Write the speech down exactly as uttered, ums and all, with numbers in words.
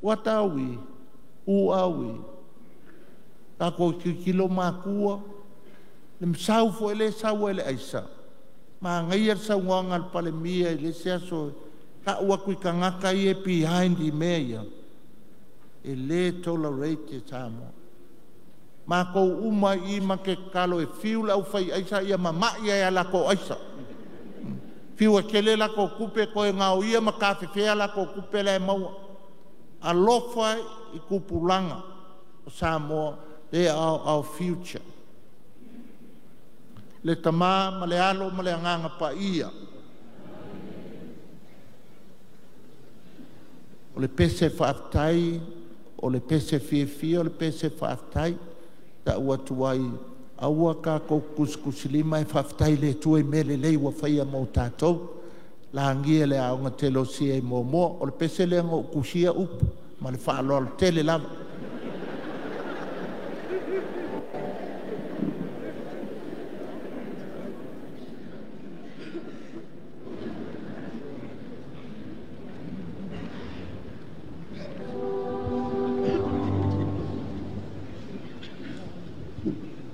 What are we? Who are we? Tatou tilotilo matua, le masau foi lea e sau ai le aisa, manaia le saunoaga a le Palemia i le isi aso, tau atu i tagata ia e behind i mea ia, e le tolerate e Samoa. Matou uma i i ma te tatalo e fiu le aufai aisa ia mama'i ai ia latou aisa. Fiu e tele latou tupe toe gaoia ma tafefea latou tupe la e maua. Alofa i tupulaga o Samoa, they are our future. Le Tama ma le Alo ma le Agaga Paia. O le pese faafetai, o le pese fiafia, o le pese faafetai. Tau atu ai, aua tatou te tusitusilima ae faafetai i le Atua i mea lelei ua faia mo tatou. Lagia e le Aoga Telosia i Moamoa. O le pese lea na ou tusia upu ma le faaaloalo tele lava.